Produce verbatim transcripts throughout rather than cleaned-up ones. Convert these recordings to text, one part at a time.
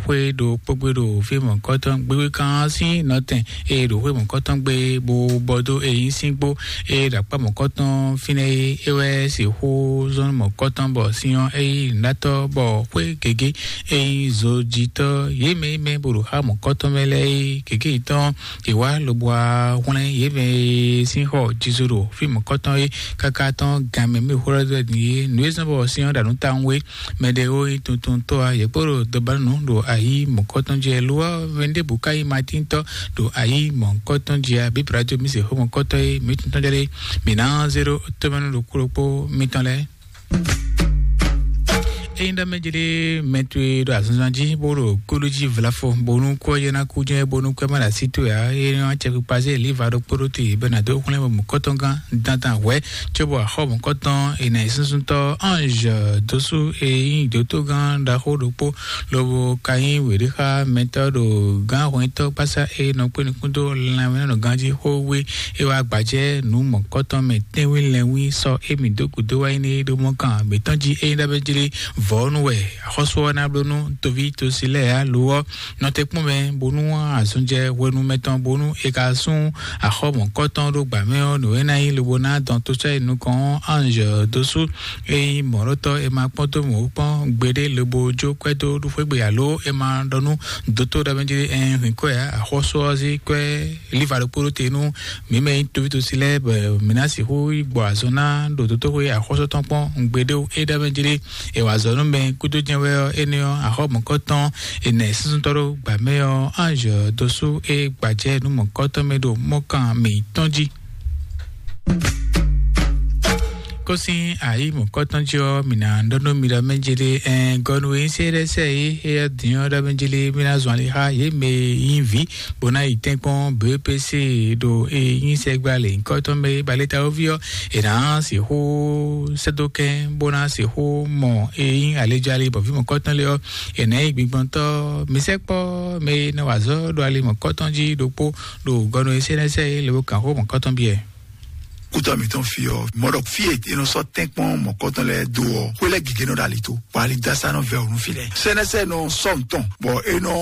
Xwé ɖo kpógbé ɖo fí mɔ̌kɔtɔn gbégbé kan sín nɔtɛn e ɖo xwé mɔ̌kɔtɔn gbé bó bɔ dó e nyí sín gbó e ɖo akpá mɔ̌kɔtɔn fínɛ́ é, é wɛ sixú zɔ́n mɔ̌kɔtɔn bɔ sin ɔ́ é nyí nǔɖatɔ́ bɔ xwé gěgé e nyí zojitɔ́ yě mɛ e mɛ bó ɖo xá mɔ̌kɔtɔn mɛ lɛ́ɛ é gěgé yětɔn è wá lobo wá hwlɛ́n yě mɛ e sín xɔ jizo ɖo fí mɔ̌kɔtɔn é káká tɔn gan mɛ mɛ xwlɔ́ dó din é. Nǔ e zɔ́n bɔ sin ɔ́ ɖo nǔ tawun é, mɛ ɖé ó nyí tuntuntɔ́ ǎ, yě kpó ɖo dɔbanu ɖo ayǐ mɔ̌kɔtɔn jí ɛ lo ɔ́, mɛ ɖěbǔ ka nyí matíntɔ́ ɖo ayǐ mɔ̌kɔtɔn jí ɛ, bí Pilato mì se xó mɔ̌kɔtɔn é, mǐ tuntɔn jɛ ɖé, mǐ ná zé ɖó tómɛnu ɖokpó ɖokpó mitɔn lɛ́ɛ. Ényí ɖɔ mɛ jlé mɛ towe ɖo azɔnzɔn jí bó ɖo kúɖú jí vlafo bónú kú ɔ́ yɛ ná kú jɛ́n bónú kú ɛ má ɖo así towe ǎ, é nɔ acɛ kpikpa zé liva ɖokpó ɖó te bɔ è nǎ dó xwlɛ́n mɔ̌kɔtɔn gán dandan hwɛ̌ cóbɔ axɔ́ mɔ̌kɔtɔn è nǎ yi súnsúntɔ́ Ange dósú e nyí dǒtó gán ɖaxó ɖokpó lobo ka nyí wěɖéxámɛtɔ́ ɖo gǎnhwɛntɔ́ kpásá e nɔ kpé nukún dó lanmɛnánɔganjí xó wé é wá gbajɛ nǔ mɔ̌kɔtɔn mɛ tɛ́nwí lɛ́nwí sɔ́ émí dó gǔdo wá nyí ɖó mɔ kan mǐtɔn jí é nyí ɖɔ bɛ jlé vɔ̌nu wɛ axɔ́sú ɔ́ ná bló nú toví tosi lɛ́ɛ ǎ lo ɔ́ nɔ te kpɔ́n mɛ bónú azɔn jɛ hwenu mɛtɔn bónú è ka sún axɔ́ mɔ̌kɔtɔn ɖó gbǎ mɛ ɔ́ nǔ e ná nyí lobo ná dɔn tó sɔ́ yi nukɔn ɔ́ Ange dósú é nyí mɔ̌ɖɔtɔ́ è ma kpɔ́n dó mɔ̌ kpɔ́n gbeɖé lobo jó kwɛ́ dó ɖu xwé gbe alo è ma ɖɔ nú dótó ɖɔ mɛ jí ɛ hwǐn kwɛ́ ǎ, axɔ́sú ɔ́ zé kwɛ́ líva ɖokpó ɖó te nú mǐ mɛ nyí toví tosi lɛ́ɛ bɔ mǐ ná sixú yi gbɔ azɔn ná ɖo dótóxwé axɔ́sú tɔn kpɔ́n gbeɖé é ɖɔ mɛ jí é wǎ zɔ nú mɛ kúdó jɛ́n wɛ ɔ́ énɛ́ ɔ́ axɔ́ mɔ̌kɔtɔn è nɛ súnsúntɔ́ ɖó gbǎ mɛ ɔ́ Ange dósú é gbajɛ nú mɔ̌kɔtɔn mɛ ɖo mɔkan mǐtɔn jí. Kó sín ayǐ mɔ̌kɔtɔn jí ɔ́, mǐ ná ɖɔ nú mi ɖɔ mɛ jé ɖé ɛn gɔnu e nyí sɛ́ɖɛ́sɛ é éyɛ́ din ɔ́ ɖɔ mɛ jé ɖé mí ná zɔn ali xá yě mɛ e nyí vǐ bó ná yi tɛ́nkpɔ́n B P C ɖo e nyí sɛgbla lě nyǐkɔtɔn mɛ é baleta wóví ɔ́, è nǎ sixú sɛ́dó kɛ́n bó ná sixú mɔ e nyí alejali bɔ vǐ mɔ̌kɔtɔn lé ɔ́, è nǎ yi gbigbɔntɔ́ mi sɛkpɔ́ mɛ e nɔ wa azɔ̌ ɖo ali mɔ̌kɔtɔn jí ɖokpó ɖo gɔnu e sɛ́ɖɛ́sɛ é lě bó kan xó mɔ̌kɔtɔn biɛ. Kútɔ mǐtɔn fi ɔ́, mɔɖɔ fí e è nɔ sɔ́ tɛ́nkpɔ́n mɔ̌kɔtɔn lɛ́ɛ dó ɔ́, xwé lɛ́ɛ gěgé nɔ ɖo ali tó, bɔ ali dó asá nɔ vɛ ɔ́ nú fí lɛ́ɛ. Sɛnɛsɛ nɔ sɔ́ nǔtɔn, bɔ é nɔ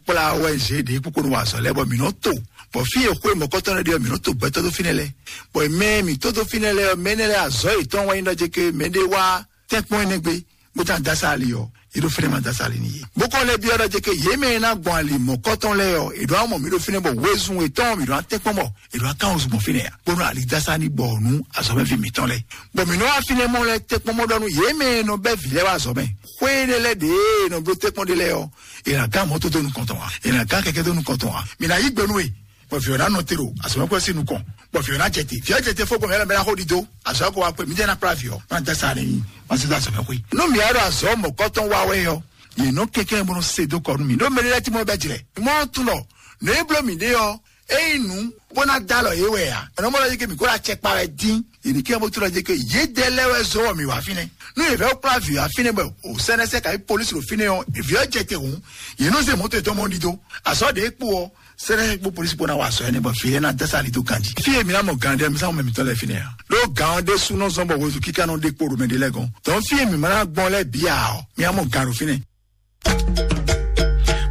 kplá wɛ zě ɖě kpókpó nɔ wa azɔ̌ lɛ́ɛ, bɔ mǐ nɔ to. Bɔ fí e xwé mɔ̌kɔtɔn lɛ́ɛ ɖe ɔ́, mǐ nɔ to gbɛtɔ́ dó fínɛ́ lɛ́ɛ. Bɔ mɛ e mǐ tó dó fínɛ́ lɛ́ɛ ɔ́, mɛ énɛ́ lɛ́ɛ azɔ̌ yětɔn wɛ nyí ɖɔ jɛ ké mɛ ɖé wá tɛ́nkpɔ́n énɛ́ gbe, bó tá dó asá ali ɔ́, yě ɖo fínɛ́ ma dó asá ali n'i yě. Bó kɔn lɛ́ byɔ́ ɖɔ jɛ ké yě mɛ e ná gbɔn ali mɔ̌kɔtɔn lɛ́ɛ ɔ́, è ɖo amɔ mǐ ɖo fínɛ́ bɔ wezun yětɔn mǐ ɖo atɛ́nkpɔ́n bɔ è ɖo akáwunzun gbɔn fínɛ́ ǎ, bónú ali dó asá ní gbɔ nú azɔ̌mɛví mǐtɔn lɛ́ɛ. Bɔ mǐ nɔ wá fínɛ́ mɔ lɛ́ɛ tɛ́nkpɔ́n mɔ ɖɔ nú yě mɛ e nɔ bɛ́ vǐ lɛ́ɛ wá azɔ̌ mɛ. Xwé énɛ́ lɛ́ɛ ɖě e nɔ bló tɛ́nkpɔ́n ɖé lɛ́ɛ ɔ́, è nǎ gán mɔ̌ tó dó nukɔn tɔn ǎ, è nǎ gán kɛkɛ́ dó nukɔn tɔn ǎ. Mǐ ná yí gbe nú we. Bɔ vǐ ɔ́ ná nɔ te ɖo azɔ̌mɛkplɔ́ sín nukɔn, bɔ vǐ ɔ́ ná jɛ te. Vǐ ɔ́ jɛ te fó gbɔn mɛ lɛ́ɛ mɛ ná xo ɖi dó. Azɔ̌ ko wá kpe, mǐ jɛ ná kplá vǐ ɔ́, má dá sa n'i, má sí dó azɔ̌mɛxwé. Nú mǐ wá ɖo azɔ̌ mɔ̌kɔtɔn wa wɛ ɔ́, yě nɔ kɛnklɛ́n bó nɔ se dó kɔ nú mì. Ɖó mɛ ɖé lɛ́ɛ tí mɔ bɛ́ jlɛ̌. Mɔ tún ɖɔ nǔ e bló mǐ ɖe ɔ́, é nyí nǔ bó ná dó alɔ yě wɛ ǎ. È nɔ mɔ lɔ yí ké mǐ kó ɖo acɛ kpa wɛ dín. Yě ní kɛ́n bó tlɔ́ jɛ ké yě dɛ lɛ́ɛ wɛ zɔ́ wɔ mǐ wá fínɛ́. Nú yě vɛ́ kplá vǐ wá fínɛ́ bɔ o sɛnɛsɛ ka yí polisi ɖo fínɛ́ ɔ́, vǐ ɔ́ jɛ te hǔn, yě nɔ zé mɔ̌to yětɔn mɔ ɖi dó. Azɔ̌ ɖě kpo ɔ́, sɛnɛ kpó polisi kpó ná wa azɔ̌ énɛ́ bɔ fǐ lɛ́ɛ ná dá sa ali dó ganjí. Fí e mǐ ná mɔ gǎn ɖé mi sá mɔ mɛ mǐtɔn lɛ́ɛ fínɛ́ ǎ. Ɖó gǎn ɔ́ ɖésú nɔ zɔ́n bɔ wezun kíká nɔ ɖe kpo ɖo mɛ ɖé lɛ́ɛ gɔ́n. Dɔn fí e mǐ ma ná gbɔn lɛ́ɛ bǐ ǎ ɔ́, mǐ ná mɔ gǎn ɖo fínɛ́.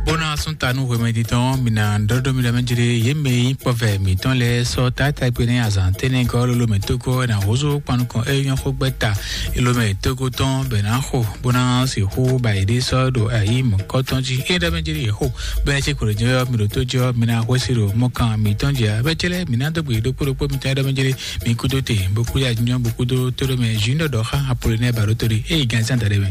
Bó ná sún ta nú hwemɛ titɔn, mǐ ná ɖɔɖɔ mi ɖɔ mɛ jlé yě mɛ nyí kpɔvɛ mǐtɔn lɛ́ɛ sɔ́ tátágbe nɛ́ azǎn tɛ́nɛgɔ́ lólo mɛ tógó ná húzú kpanukɔn é nyɔ́ xó gbɛ́ ta lómɛ tógó tɔn bɛ ná xo bó ná sixú ba yě ɖé sɔ́ ɖo ayǐ mɔ̌kɔtɔn jí. É ɖɔ mɛ jlé yě xo bɛ́ ná cí kplɔ́ jɛ ɔ́, mi ɖo tó jɛ ɔ́, mi ná hwesí ɖo mɔkan mǐtɔn jí ǎ. Bɛ́ cɛ́ lɛ́ɛ mǐ ná dó gbe ɖokpó ɖokpó mitɔn é ɖɔ mɛ jlé mi kúdó te bó kú ya jínjɔ́n bó kúdó tó ɖɔ mɛ zǐn ɖɔɖɔ xá Apolonɛ́ɛ ba ɖó tó ɖe é yi gǎn zán daɖé mɛ.